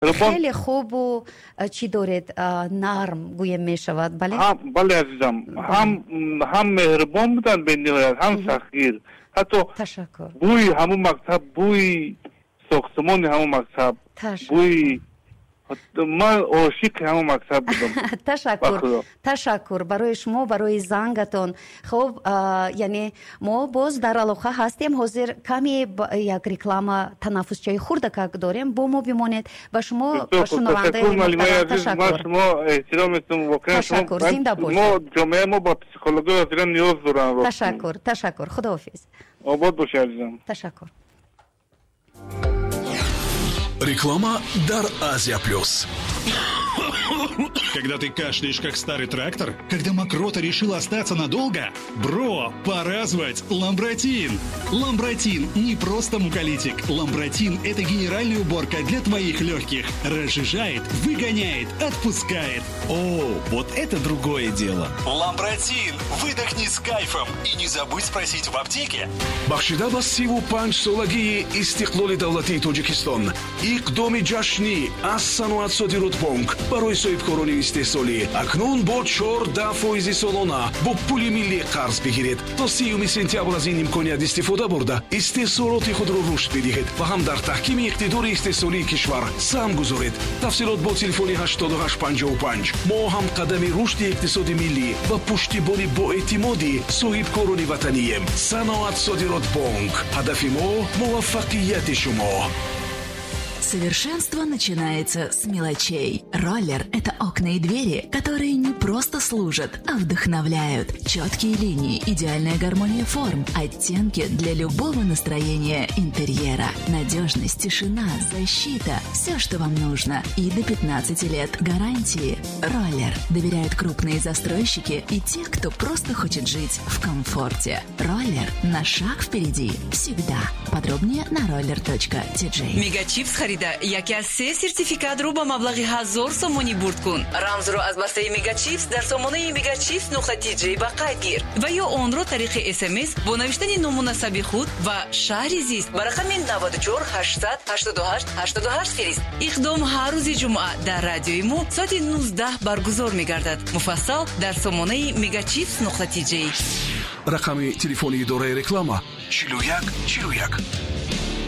Хеле хубу чӣ доред, нарм гӯем мешавад, бале? Бале, азизам, ҳам меҳрубон буданд бениҳоят, ҳам сахтгир. Ҳатто ташаккур. Бӯи ҳамун мактаб, бӯи сохтмони ҳамун мактаб, бӯи, ман ошиқи ҳамон мактаб будам. Ташаккур, ташаккур барои шумо, барои зангатон. Хуб, яъне мо боз дар алоқа ҳастем. Ҳозир каме як реклама, танаффусчаи хурдакак дорем, бо мо бимонед. Ба шумо, ба шунавандаи ташаккур. Шумо эҳтиром метум воқеан. Ташаккур, зинда бошед. Мо ҷомеаи мо ба психология воқеан ниёз доранд. Ташаккур, ташаккур, худоҳофиз. Обод бошед, азизам. Ташаккур. Реклама дар Азия Плюс. Когда ты кашляешь, как старый трактор? Когда мокрота решила остаться надолго? Бро, пора звать Ламбратин! Ламбратин не просто муколитик. Ламбратин – это генеральная уборка для твоих легких. Разжижает, выгоняет, отпускает. О, вот это другое дело. Ламбратин! Выдохни с кайфом и не забудь спросить в аптеке. Бахшида ба 35-солагии истиқлоли давлатии Тоҷикистон, иқдоми ҷашнӣ аз Саноатсодиротбонк барои соҳибкорони истеҳсолӣ: акнун бо 14 фоизи солона бо пули миллӣ қарз бигиред. То 30 сентябр аз ин имконият истифода бурда, истеҳсолоти худро рушд бидиҳед ва ҳам дар таҳкими иқтидори истеҳсолии кишвар саҳм гузоред. Тафсилот бо телефони 8855. Мо ҳамқадами рушди иқтисоди миллӣ ва пуштибони боэътимоди соҳибкорони ватанием. Саноатсодиротбонк, ҳадафи мо муваффақияти шумо. Совершенство начинается с мелочей. Роллер – это окна и двери, которые не просто служат, а вдохновляют. Четкие линии, идеальная гармония форм, оттенки для любого настроения интерьера. Надежность, тишина, защита – все, что вам нужно. И до 15 лет гарантии. Роллер. Доверяют крупные застройщики и те, кто просто хочет жить в комфорте. Роллер на шаг впереди. Всегда. Подробнее на roller.tj. Мегачипс харида, яке аз се сертификатро ба маблағи 1000 сомонӣ бурд кун. Рамзро аз бастаи Мегачипс дар сомонаи megachipс.tj ба қайд гир ва ё онро тариқи СМС бо навиштани ному насаби худ ва шаҳри зист ба рақами 94 888 88 фирист. Иқдом ҳар рӯзи ҷумъа дар радиои мо соати 19 баргузор мегардад. Муфассал дар сомонаи megachipс.tj. Рақами телефони идораи реклама: 41 41.